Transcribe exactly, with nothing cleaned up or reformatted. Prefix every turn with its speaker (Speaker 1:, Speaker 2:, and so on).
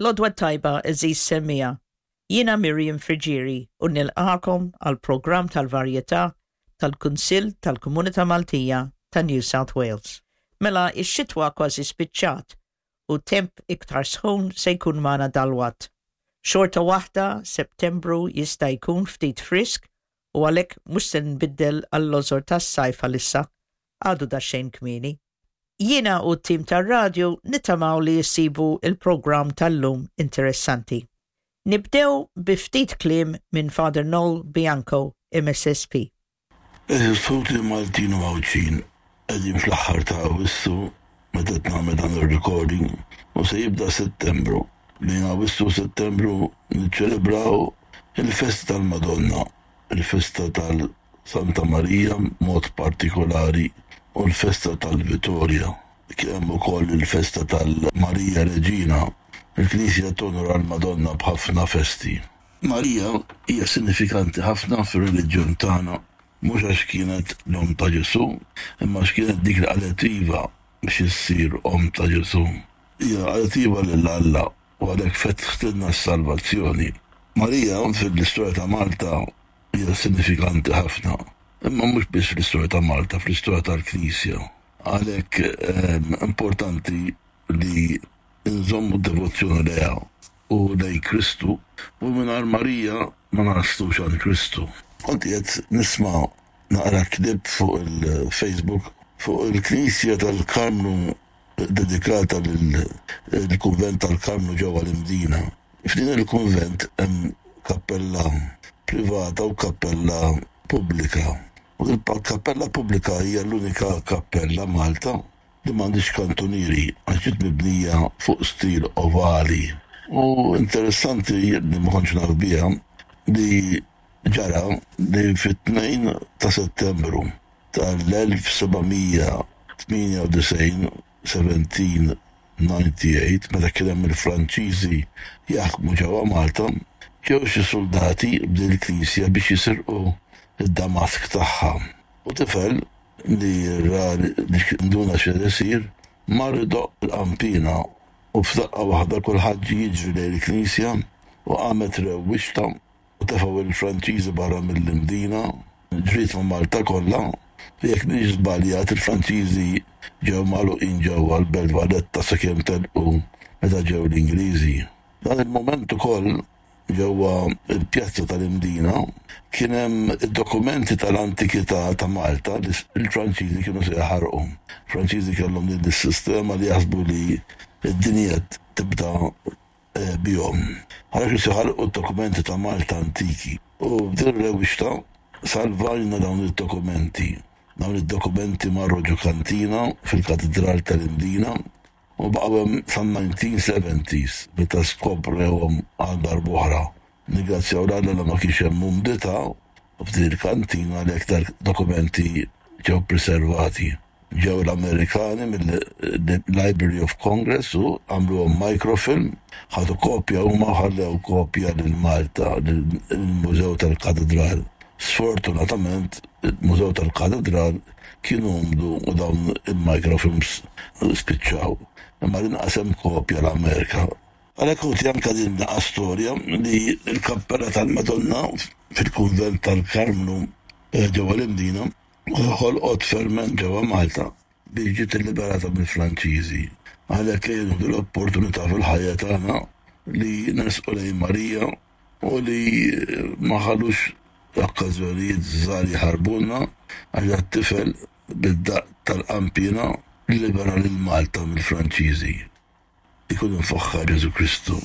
Speaker 1: L-għodwa t-tajba, għeżież semmiegħa. Jiena Miriam Friggieri u nilqagħkom għall-programm tal-varjetà tal-Kunsill tal-Komunità Maltija ta' New South Wales. Mela ix-xitwa kważi spiċċat u temp iktar sħun se jkun magħna dalwaqt. Xorta waħda, Settembru jista' jkun ftit frisk u għalhekk mhux se nbiddel għall-lożor tas-sajf għalissa, għadu daqsxejn kmieni. Jiena u t-tim tar-radju nittamaw li jsibu il-programm tal-lum interessanti. Nibdew bi ftit kliem minn Father Noel Bianco, M S S P.
Speaker 2: Għeżież ħuti Maltin u Għawdxin, qegħdin fl-aħħar ta' Awwissu meta nagħmel dan il-recording u se jibda Settembru. Bejn Awwissu u Settembru niċċelebraw il-festa tal-Madonna, il-festa tal-Santa Marija mod partikolari u l-festa tal-Vitorja. Hemm ukoll il-festa tal-Marija Reġina. Il-Knisja tonora l-Madonna b'ħafna festi. Marija hija sinifikanti ħafna fir-reliġjon tagħna, mhux għax kienet l-om ta' Ġesu, imma għax kienet dik li qalet iva biex issir om ta' Ġesu. Hija qalet iva lil Alla u għalhekk fetħtilna s-salvazzjoni. Marija fil-istorja ta' Malta hija sinifikanti ħafna, imma mhux biss fl-istorja ta' Malta, fl-istorja tal-Knisja. Għalhekk ehm, importanti li nżommu devozzjoni lejha u lej Kristu u mingħajr Marija ma naslux għand Kristu. Kont qed nisma' naqra clip fuq il-Facebook fuq il-Knisja tal-Karmnu dedikata lill-Kunvent tal-Karmnu ġewwa l-Imdina. F'din il-kunvent hemm kappella privata u kappella pubblika. U il-kappella pubblika hija l-unika kappella Malta li m'għandhiex kantunieri għax ġiet mibnija fuq stil ovali. U interessanti li ma kontx naf biha li ġara li fit-tnejn ta' Settembru tal-elf seba' mija tmienja u disgħin, seventeen ninety-eight, meta kien hemm il-Franċiżi jaħkmu ġewwa Malta, ġew xi soldati b'din il-knisja biex jisirqu id-damask tagħha. U tifel li ra li nduna xi isir mar idoqq il-qampina u f'daqqa waħda kulħadd ġie jiġri lejn il-knisja u qamet rewwixta u tefgħu il-Franċiżi barra mill-Imdina, ġriet ma' Malta kollha. U jekk m'iniex żbaljat, il-Franċiżi ġew magħluqin ġewwa l-Belt Valletta sakemm telqu meta ġew l-Ingliżi. Dan il-moment ukoll ġewwa il-pjazza tal-Imdina kien hemm id-dokumenti tal-antikità ta' Malta li l-Franċiżi kienu se jaħarqu. Franċiżi kellhom din is-sistema li jaħsbu li d-dinja tibda eh, bihom. Għalhekk se jaħarqu d-dokumenti ta' Malta antiki. U b'din ir-rewwixta salvajna dawn id-dokumenti. Dawn id-dokumenti marru ġo kantina fil-Katedral tal-Imdina u baqgħu hemm san-nineteen seventies meta skoprewhom għal darb'oħra. Ningrazzjaw 'l Alla li ma kienx hemm umdità u f'din il-kantina li aktar dokumenti ġew preservati. Ġew l-Amerikani mill-Library of Congress u għamluhom microfilm, ħadu kopja huma, ħallew kopja lil Malta, lill-Mużew tal-Katedral. Sfortunatament, il-Mużew tal-Katedral kienu umdu u dawn il-microfilms spiċċaw. Imma l-inqas hemm kopja l-Amerika. Għalhekk ħuti, anka din naqa storja li l-kappella tal-Madonna fil-kunvent tal-Karmnu eh, ġewwa l-Imdina ħolqot ferment ġewwa Malta biex ġiet liberata mill-Franċiżi. Għalhekk jien l-opportunità fil-ħajja tagħna li nersqu lejn Marija u li ma nħallux okkażjonijiet żgħar jaħarbulna, għax tifel bid-daqq tal-qampina libera lil Malta mill-Franċiżi. Ikun imfaħħar Ġesu Kristu.